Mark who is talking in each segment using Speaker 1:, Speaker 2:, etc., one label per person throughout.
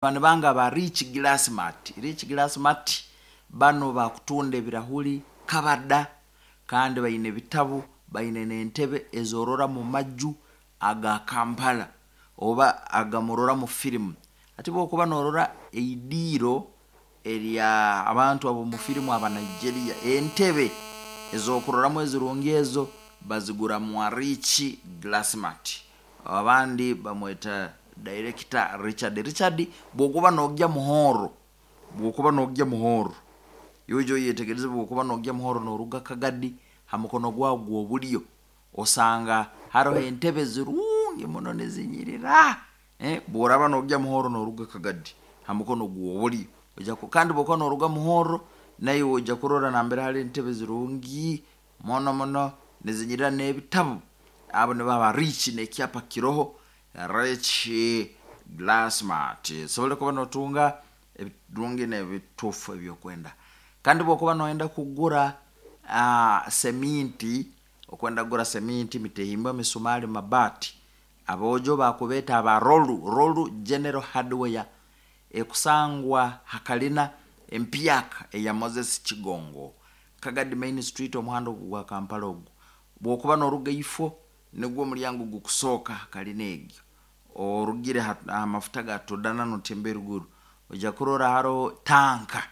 Speaker 1: Bano banga ba Rich Glassmart. Rich Glassmart bano bakutunda ebirahuri kabada, kandi baine ebitabu, baine n'entebe ezorora mu maju aga Kampala oba agamurora mu firimu. Ati bwokuba norora eidiiro erya abantu ab'omu firimu aba Nigeria, entebe ez'okuroramu ezirungi ezo bazigura mwa Rich Glassmart. Abandi bamweta Director Richard. Richard bwokuba nogya Muhoro, bwokuba nogya Muhoro, yoija oyetegereze, bwokuba nogya Muhoro noruga Kagadi ha mukono gwawe gw'obulyo osanga haroho entebe zirungi muno nizinyirira. Bworaba nogya Muhoro noruga Kagadi ha mukono gw'obulyo oija, kandi bwokuba noruga Muhoro naiwe oija kurora nambere hali entebe zirungi muno muno nizinyirira n'ebitabu. Abo nibo aba Rich, n'ekyapa kiroho Rich Glassmart. Osobole kuba notunga ebirungi n'ebituufu ebyokwenda. Kandi bwokuba noyenda kugura seminti, okwenda kugura seminti, mitehimbwa, misumali, mabaati, aboojo bakubeeta aba Rolu, Rolu General Hardware ekusangwa ha kalina empyaka eya Moses Kigongo, Kagadi Main Street, omuhanda ogu gwa Kampala ogu. Bwokuba noruga ifo, nigwo omulyango gukusooka ha kalina egyo. Orugire ha mafuta ga Todana notemba eruguru, oija kurora haroho tanka,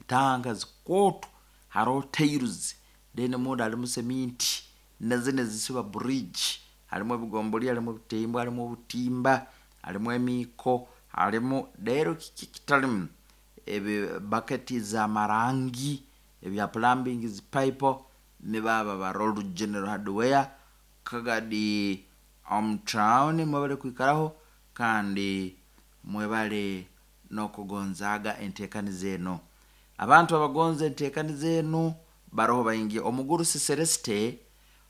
Speaker 1: tanka zikooto, haroho tiles, then munda harimu seminti na zinu ezisiba bridge, harimu ebigomboli, harimu ebitehimbwa, harimu obutimba, harimu emiiko, harimu rero kiki ekitarimu, ebi baketi z'amarangi, ebya plumbing zi pipe, nibo abo aba Rolu General Hardware Kagadi omu town. Mwebale kwikaraho kandi mwebale n'okugonzaaga enteekaniza enu. Abantu abagonza enteekaniza enu baroho baingi. Omugurusi Celeste,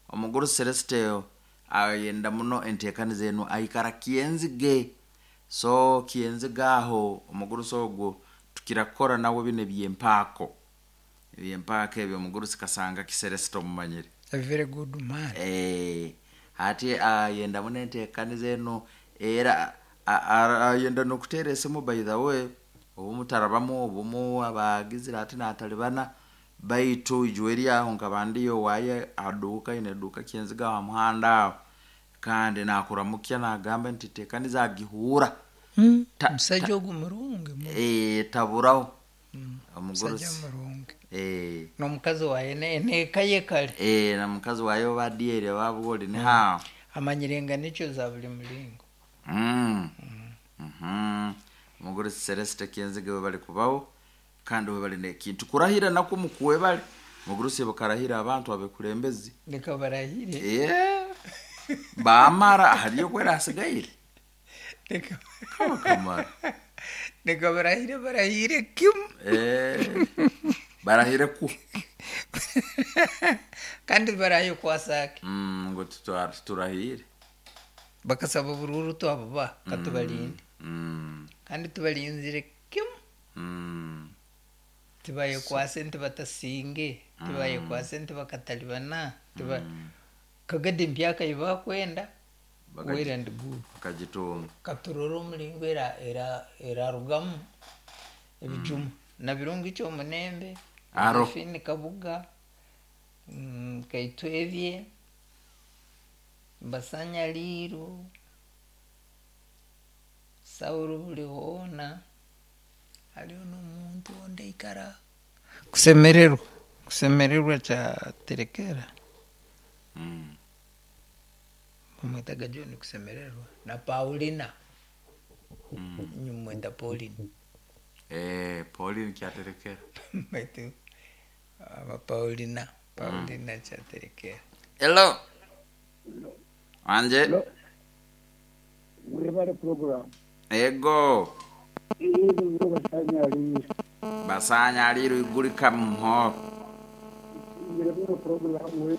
Speaker 1: omugurusi Celeste ayenda muno enteekaniza enu, aikara Kyenzige. So Kyenzige aho omugurusi ogwo tukira kukora nawe binu eby'empaako, eby'empaako ebyo omugurusi Kasanga Celeste omumanyire.
Speaker 2: A very good man.
Speaker 1: Hati ayenda muno enteekaniza enu, era ayenda n'okuteera esimu. By the way, obumu tarabamu, obumu aba agizire ati natalibana, baitu ijweri aho nkaba ndiyo owaaye aduuka, aine eduuka Kyenzige aho ha muhanda aho, kandi nakuramukya nagamba nti teekaniza agihuura.
Speaker 2: Omusaija ogu murungi muno.
Speaker 1: Taburaho.
Speaker 2: Omusaija
Speaker 1: omugurusi
Speaker 2: murungi. N'omukazi waye n'eka ye kale.
Speaker 1: Na mukazi waye oba Adieri oba bwoli nihaho.
Speaker 2: Amanyire enganikyo za buli mulingo.
Speaker 1: Omugurusi Celeste Kyenzige, we bali kubaho kandi we bali n'ekintu kurahira nakwo mukwebale. Mugurusi bakarahira abantu abekulembezi.
Speaker 2: Leka barahire.
Speaker 1: Bamara hariyo kwera hasigaire.
Speaker 2: Leka
Speaker 1: kaba kamara.
Speaker 2: Leka barahire, barahire kimu.
Speaker 1: Barahire ku
Speaker 2: kandi baraye kwasake.
Speaker 1: Ngu turahire.
Speaker 2: Bakasaba obururu twabubaha katubalinde. Kandi tubalinzire kimu. Tibayekwase nti batasinge, tibayekwase nti bakatalibana, tiba Kagadi empyaka eyibakwenda. Well and good.
Speaker 1: Bakagitunga.
Speaker 2: Katurore omulingo erarugamu ebijuma na birungi kyomunembe.
Speaker 1: Aro.
Speaker 2: Josephine Kabuga, Kaitwebye Basanyaliru, Saulo Bulihoona, hariho n'omuntu ondi aikara kusemererwa, kusemererwa kyaterekera. Bamwetaga John Kusemererwa na Paulina. Nyumweta Pauline.
Speaker 1: Pauline kyaterekera.
Speaker 2: Baitu aba Paulina, Paulina kyaterekera.
Speaker 1: Hello, wanje.
Speaker 3: Mwebale program.
Speaker 1: Ego.
Speaker 3: Ego basanyalire.
Speaker 1: Basanyalire igulika muho.
Speaker 3: Ngire muno program we.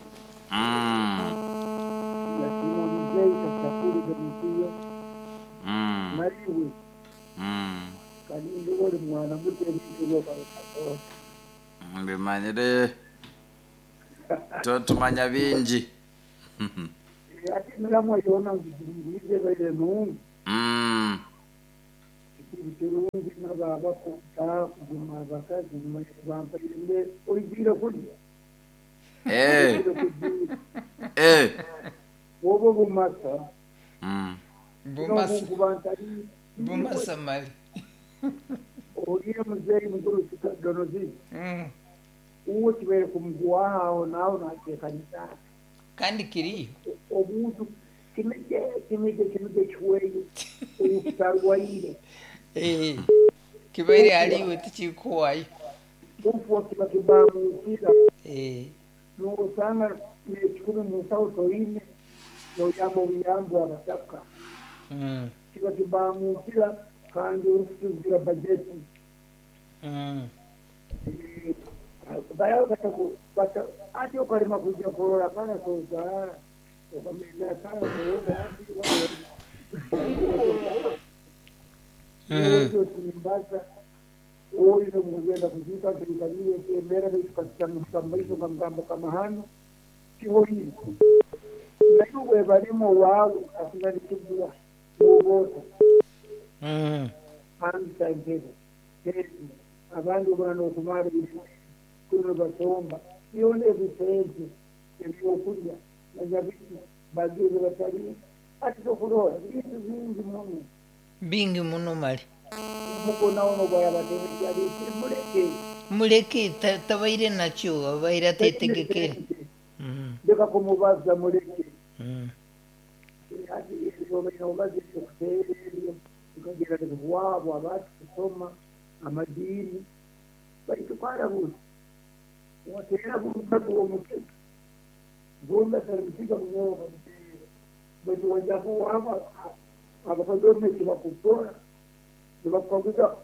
Speaker 3: Yakima mzee kasakuru demisiyo. Mariwe. Kandi uri mwana muto ebintu byo.
Speaker 1: Mbimanyire, totumanya bingi.
Speaker 3: Ati milamwa yona ngizire baile nungi. Kirungi nababako kuguma abakazi bampaire oigiire kulya. Obo bumasa.
Speaker 2: Bumasa. Bumasa mali.
Speaker 3: Oliye muzeeyi mukuru Donozi. Uwo kibaire kumuguwaho aho naaho nateekanisa.
Speaker 2: Kandi kiriyo.
Speaker 3: Omuntu kimije kiweyo obutarwaire.
Speaker 2: Kibaire haliwe tikikuwayo.
Speaker 3: Kufa kiba kibamukira. N'osanga n'ekikumi mu nsawo toine n'oyamba obuyambi abataka. Kiba kibamukira kandi orikutugira bajeti. Ati okalema kuja kurora kana sozaara okamenya kana sozaara oyo mugenda kuzika tulikaliye emera tukasitamaiso kamgambo kama hano kihoyire nayo barimo wawe asinga nikibwa n'obota hangi abantu bano okumara kuno basomba yone ebisente ebyokulya nanyabiki bagire batali ati tokurora bintu bingi muno
Speaker 2: bingi muno mali
Speaker 3: mukonaono bwayabatemekya
Speaker 2: muleke tabaire nakyo abaire atetegekere
Speaker 3: leka kumubaza muleke ati ebyo okuteera ebyo tukagira wabo abati kusoma amadini baitu buzi watera buzi omukiga gomba sarimikiga munyoka baitu wajaku waba abakagomeki bakukora nibakukaguza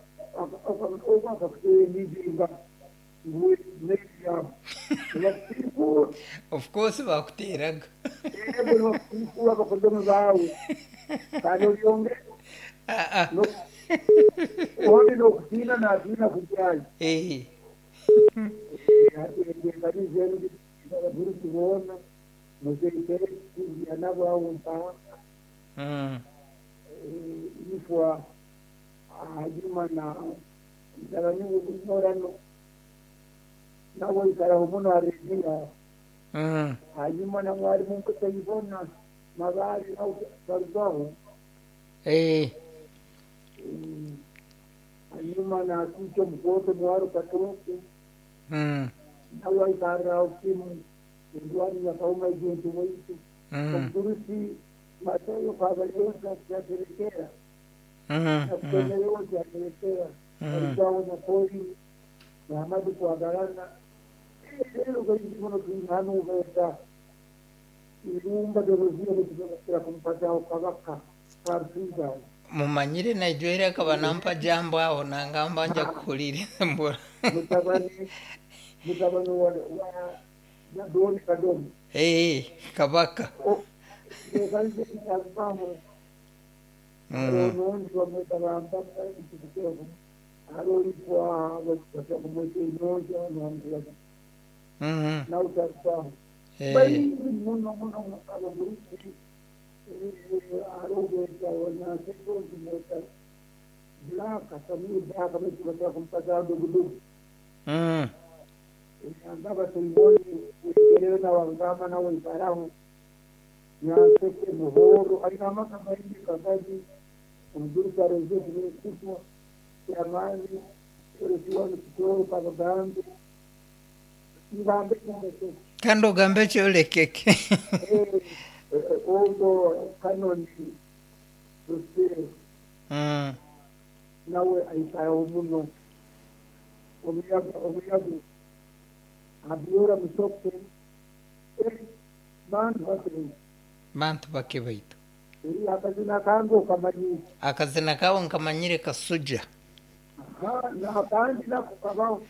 Speaker 3: akakuteera emizinga nguwe n'ebyabo nibakusiikura.
Speaker 2: Of course bakuteraga.
Speaker 3: Nibakusiikura abakodomi baawe kandi olyongera ondi n'okutiina naatiina kujyayo. Abagurusi boona muzeeyi kuya nabo awo mpaka ifwa hanyuma na mutabani we nawe ikaraho muno aredia hanyuma na mwalimu nkutayibona mabali nawe barugaho hanyuma na kucho mkoto mwaro katoke nawe ikarao kimu ndwani yakauma igintu waitu omugurusi Mateyo kabalyoza kyaterekera nakutemerewo kyaterekera arugaho na poli Muhammadu kwagalana rero gaizimono tuihanu beta irumba dorozio nekibakira kumpataho kabaka karusiza
Speaker 2: mumanyire naijwere akaba nampa jambo aho nangamba nja kukulire mbura
Speaker 3: mutabani wa Doni Kadomi
Speaker 2: kabaka
Speaker 3: Nyanseke muhoro alina amaka maingi kagazi omugurusi arozee kutwa yamaani oresiwano kitoro kabagambe ngambe kyolekeke
Speaker 2: kandi ogambe kyolekeke
Speaker 3: ogo kanoni rusire nawe aikaraho muno omuyaga abyora musoke bantu bake
Speaker 2: bantu bake baitu
Speaker 3: akazina kange okamanyire
Speaker 2: akazina kawe nkamanyire Kasuja
Speaker 3: nakandi nako kabaho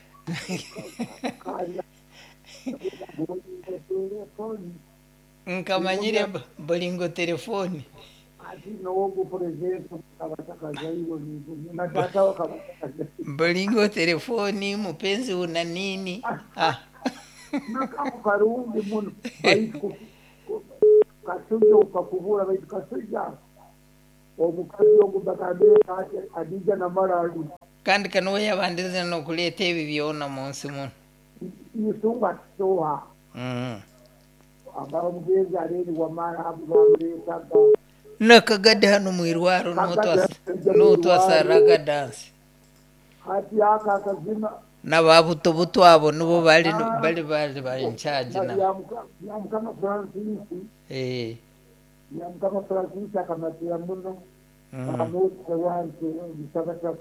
Speaker 2: nkamanyire bolingo telefoni
Speaker 3: ati nowogu president kabatakazairo na tata
Speaker 2: bolingo telefoni mupenzi una nini
Speaker 3: nakamu karungi muno baitu Kasuja ukakubura baitu Kasuja Omukazi ogu bagambire ati Adija Namara ali.
Speaker 2: Kandi kanuwe yabandize n'okuleeta ebi byona mu nsi muno.
Speaker 3: Isunga tusoha. Aba omugenzi aleni Wamara abo bamuleetaga.
Speaker 2: Nakagadi hano mwirwaro n'otwasaraga dansi.
Speaker 3: Hati aka akazina.
Speaker 2: N'ababutobuto abo nibo bali bali bali in charge na.
Speaker 3: Ya Mukama Francis. Ya Mukama Francis akamatira muno. Amusa wange bisabata.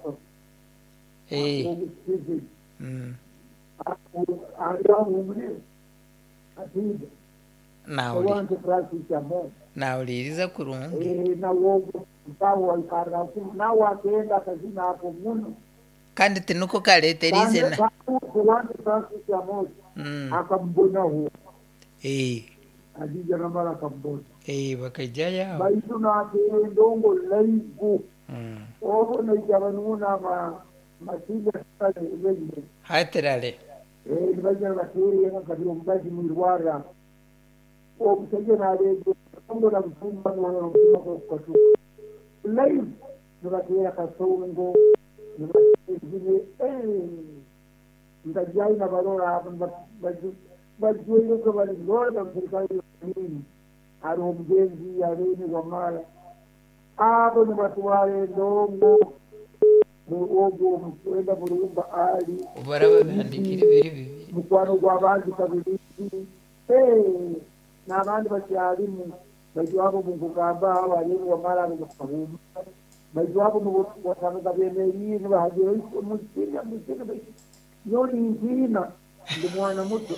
Speaker 2: Nawuliriza kurungi. Kandi tinuko kaleeterize na.
Speaker 3: Akambonaho. Adija Namara akambona.
Speaker 2: Bakaijayo.
Speaker 3: Baitu nateera endongo laivu. Obo naija banuuna masinga sale
Speaker 2: hatirale.
Speaker 3: Nibaija nibateera kabiri omugazi mwirwara. Omusajja naleega endongo na busumba n'omutima gw'okukatuka. Laivu nibateera kasongo nibateera nkajayo nabarora abo bajwaireko bali lola serikali nini. Hariho omugenzi Aleni Wamara. Abo nibatwara endongo ogwo omukwenda Burumba ali.
Speaker 2: Obaraba bihandikire biri bibiri.
Speaker 3: Mukwano gw'abandi kabirizi. N'abandi bakyalimu. Baitu abo mukugamba abo Aleni Wamara abo bakahuma. Baitu abo wasangaga beemeriire nibahagira mukina mukina. Nyowe nintiina ndi mwana muto.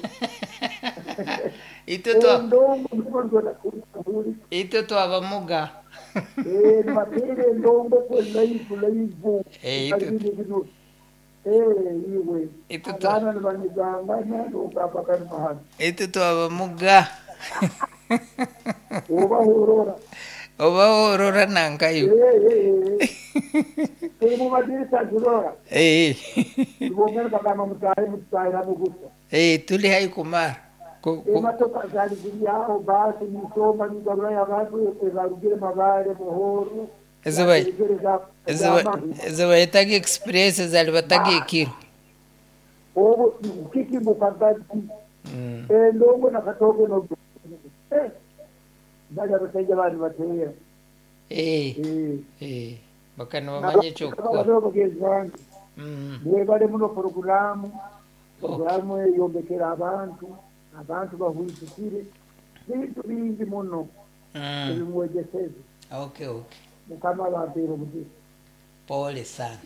Speaker 2: Itwe twabamuga.
Speaker 3: Nibateera endongo kwe laivu laivu. Iwe. Abaana nibanigangana n'ogamba kani mahano.
Speaker 2: Itwe twabamuga.
Speaker 3: Oba horora.
Speaker 2: Oba horora nankayo.
Speaker 3: Tuli mu madirisa turora. Tubongera bagamba mutahe mutahiramu gusa.
Speaker 2: Tuli hai kumara.
Speaker 3: Emotoka zali ziri aho basi nisoma nigarurayo abantu ebarugire Mabare Muhoro.
Speaker 2: Ezo bayetaga express zali bataga ekiro.
Speaker 3: Obo kiki mukagazi. Endongo na katoke no. Bali abasajja bali bateera.
Speaker 2: Bakana bamanye eky'okukora.
Speaker 3: Bagenzi bange. Mwebale muno poroguramu. Poroguramu eyombekera abantu. Abantu bahwitukire bintu bingi muno ebimwegeseze.
Speaker 2: Okay.
Speaker 3: Mukama abampeere omugisha.
Speaker 2: Pole sana.